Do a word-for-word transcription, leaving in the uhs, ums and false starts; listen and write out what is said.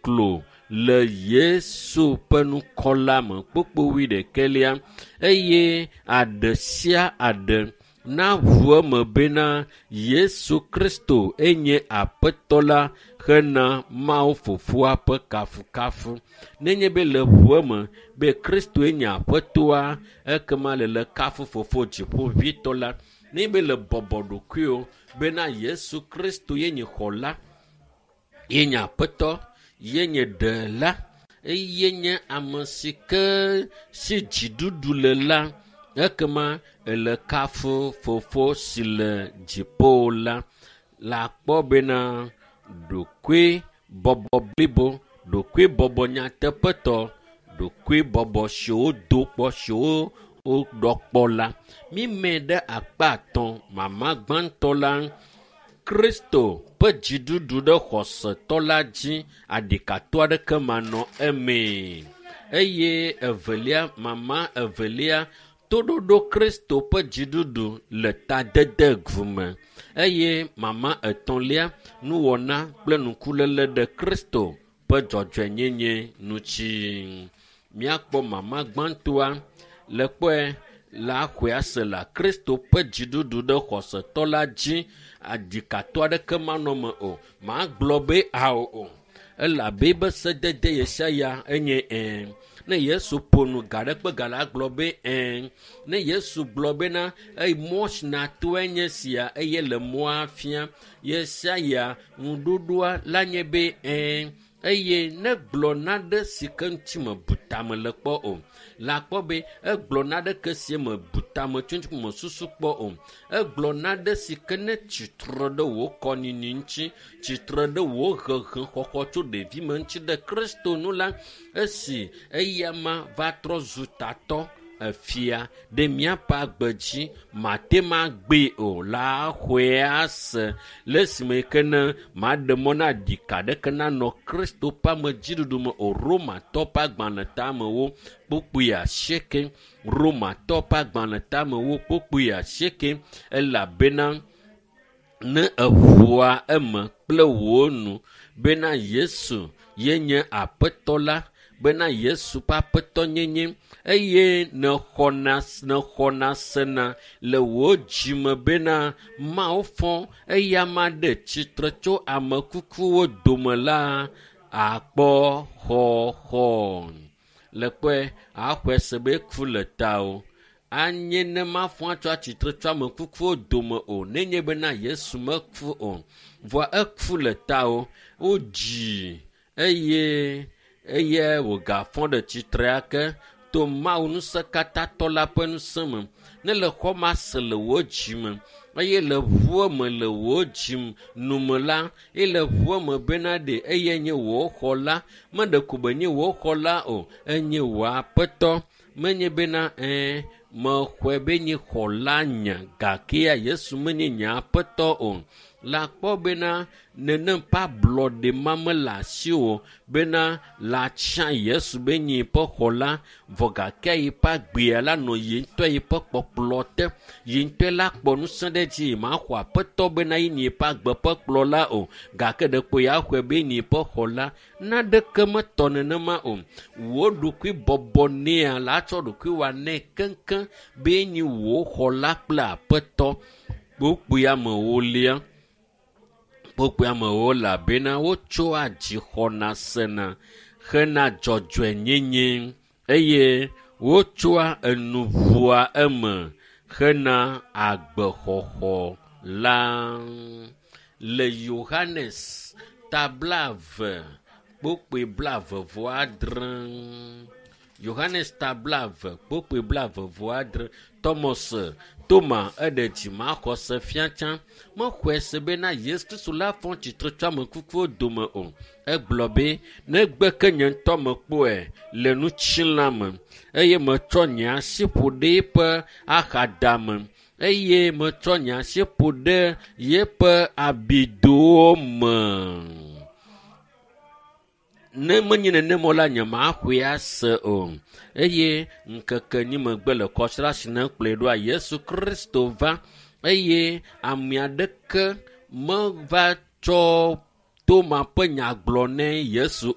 klo le Yesu ƒe ŋkɔ la me. Kpukpui wuiɖekɛlia eye aɖe sia aɖe naʋu eme bena Yesu Kristo enye Aƒetɔ la hena Mawu Fofoa ƒe kafukafu. Nenye be le ʋu eme be Kristoe nye Aƒetɔa, ekema le le kafu Fofo Dziƒoʋĩtɔ la. Nenye be le bɔbɔ ɖokuiwò bena Yesu Kristo ye nye Xɔla, ye nye Aƒetɔ, ye nye Ɖela, eye nye ame si ke si dziɖuɖu le la, ekema ele kafu Fofo si le dziƒo la. Le akpɔ bena ɖokui bɔbɔ blibo, ɖokui bɔbɔ nyateƒetɔ, ɖokui bɔbɔ siwo do kpɔ siwo woɖɔ kpɔ la. Mímɛ ɖe akpa atɔ̃ mama gbãtɔ la Kristo ƒe dziɖuɖu ɖe xɔsetɔ la dzi aɖikatɔ aɖeke manɔ emee. Eye evelia mama evelia toɖoɖo Kristo ƒe dziɖuɖu le tadede me eye mama etɔ̃lia nuwɔna kple ŋkuléle ɖe Kristo ƒe dzɔdzɔenyenye ŋuti. Míakpɔ mama gbãtɔa le kpɔe le axɔe ase la Kristo ƒe dziɖuɖu ɖe xɔsetɔ la dzi aɖikatɔ aɖeke manɔ me o. Magblɔ be ao o elabe be sedede ɣe sia ya enye ɛ̃. Ne Yesu ƒo nu ga ɖe kpe ga la gblɔ be ɛ̃. Ne Yesu gblɔ bena eyi mɔ si natoe nye sia eye le mɔa fia ɣe sia ya ŋuɖoɖoa la nye be ɛ̃. Eye ne gblɔ naɖe si ke ŋuti mebu tame le kpɔ o la kpɔ be egblɔ naɖeke si mebu tame tso ŋuti mesusu kpɔ o. Egblɔ naɖe si ke ne tsitre ɖe wò kɔnyinyi ŋuti, tsitre ɖe wò hehexɔxɔ tso ɖevime ŋuti ɖe Kristo nu la, esi eyama va trɔ zu tatɔ efia ɖe míaƒe agbe dzi mate ma gbee o la xɔe ase le esime ke ne maɖe mɔ na ɖika ɖeke nanɔ Kristo ƒe amedziɖuɖu me o. Romatɔ ƒe agbalẽ tamewo kpukpui asieke. Romatɔ ƒe agbalẽ tamewo kpukpui asieke elabena ne eʋua eme kple wò nu bena Yesu ye nye Aƒetɔ la bena Yesu ƒe aƒetɔnyenye eye nexɔna nexɔna sena le wò dzime bena Mawu fɔ eyama ɖe tsitre tso ame kukuwo dome la akpɔ xɔxɔ. Le kpɔe axɔe se be ku le tawò. Anye ne mafɔ atsɔ atsitre tso ame kukuwo dome o nenye bena Yesu meku o. Vɔa eku le tawò. Wodzii eye eye wògafɔ ɖe tsitre ake to Mawu ŋusẽkatãtɔ la ƒe ŋusẽ me. Ne le xɔ ma se le wò dzime eye le ʋua me le wò dzi nume la eye le ʋua me bena ɖe eye nye wò xɔla meɖe ko be nye wò xɔla o enye wò aƒetɔ menye bena ɛ̃ mexɔe be nye xɔla nye gakea Yesu menye nye aƒetɔ o. La kpɔ bena nenem ƒe ablɔɖe ma mele asiwò bena la tsã Yesu be nye ƒe xɔla vɔ gake yi ƒe agbea la nɔ yi ŋutɔ yi ƒe kpɔkplɔ te. Yi ŋutɔe la kpɔ ŋusẽ ɖe edzi maxɔ aƒetɔ bena ye nye ƒe agbe ƒe kplɔla o gake ɖeko ya xɔe be nye ƒe xɔla. Naɖeke metɔ nenema o. Wò ɖokui bɔbɔ nɛa la tsɔ ɖokui wɔ nɛ keŋkeŋ be nye wò xɔla kple aƒetɔ. Kpukpui amewolia. Kpukpui amewo elabena wotsoa dzixɔna sena hena dzɔdzɔenyenye eye wotsoa enu ʋua eme hena agbexɔxɔ la. Le Yohanes ta blaeve kpukpui blaeve vɔ adre. Yohanes ta blaeve kpukpui blaeve vɔ adre. Thomas Toma eɖe dzimaxɔse fia tsã mexɔe se bena Yesu Kristo la fɔ tsitre tso ame kukuwo dome o. Egblɔ be negbe ke nye ŋutɔ mekpɔe le ŋutilã me eye metsɔ nye asi ƒo ɖe eƒe axadame eye metsɔ nye asi ƒo ɖe yeƒe abidowo me. Ne menye nenema o la nyemaxɔe ase o. Eye ŋkeke enyi megbe le kɔsiɖa si ne kplɔe ɖoa Yesu Kristo va eye ame aɖeke meva tsɔ Toma ƒe nya gblɔ ne Yesu o.